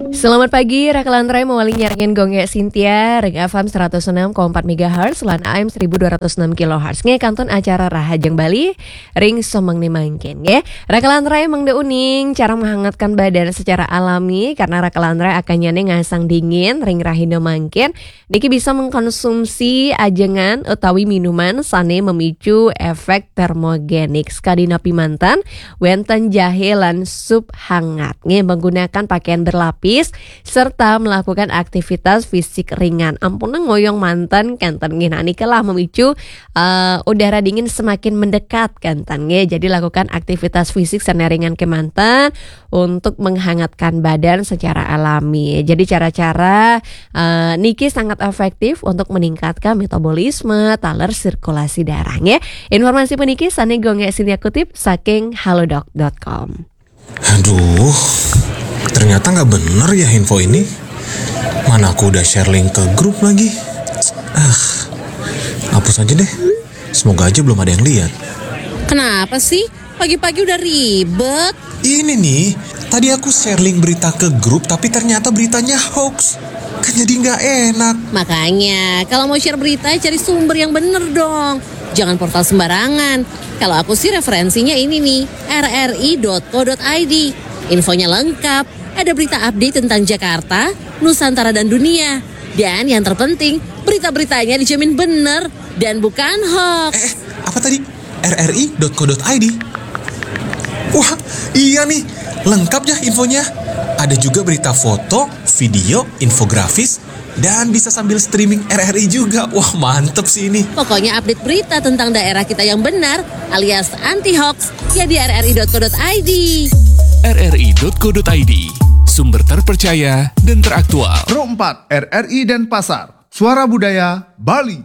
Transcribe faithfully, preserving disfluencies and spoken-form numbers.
Selamat pagi, Raka Lantrai mawali nyarengin Gongge Sintia, Ring F M seratus enam koma empat megahertz, lan A M seribu dua ratus enam kilohertz. Nggih kantun acara Rahajeng Bali, ring somangni mangkin, nggih. Raka Lantrai mangda uning, cara menghangatkan badan secara alami, karena Raka Lantrai akannyane ngasang dingin, ring rahina mangkin. Niki bisa mengkonsumsi ajengan utawi minuman sane memicu efek termogenik. Sakadi napi manten, wenten jahe lan sup hangat. Nggih, menggunakan pakaian berlapis serta melakukan aktivitas fisik ringan. Ampun ngoyong manten kenten nggih. Nah, niki lah memicu, eh, udara dingin semakin mendekat kenten nggih. Jadi lakukan aktivitas fisik sane ringan kemanten untuk menghangatkan badan secara alami. Jadi cara-cara, eh, niki sangat efektif untuk meningkatkan metabolisme, taler sirkulasi darah nggih. Informasi puniki sane Gongge Sintia kutip saking halodoc dot com. Aduh, ternyata nggak bener ya info ini. Mana aku udah share link ke grup lagi. Ah, hapus aja deh. Semoga aja belum ada yang lihat. Kenapa sih? Pagi-pagi udah ribet. Ini nih, tadi aku share link berita ke grup tapi ternyata beritanya hoax. Kan jadi nggak enak. Makanya, kalau mau share berita, cari sumber yang bener dong. Jangan portal sembarangan. Kalau aku sih referensinya ini nih, R R I dot co dot I D. Infonya lengkap, ada berita update tentang Jakarta, Nusantara dan dunia. Dan yang terpenting, berita-beritanya dijamin bener dan bukan hoax. Eh, apa tadi? R R I dot co dot I D. Wah, iya nih, lengkap ya infonya. Ada juga berita foto, video, infografis, dan bisa sambil streaming R R I juga. Wah, mantep sih ini. Pokoknya update berita tentang daerah kita yang benar alias anti hoax ya di R R I dot co dot I D. R R I dot co dot I D, sumber terpercaya dan teraktual. Pro empat R R I Denpasar, Suara Budaya Bali.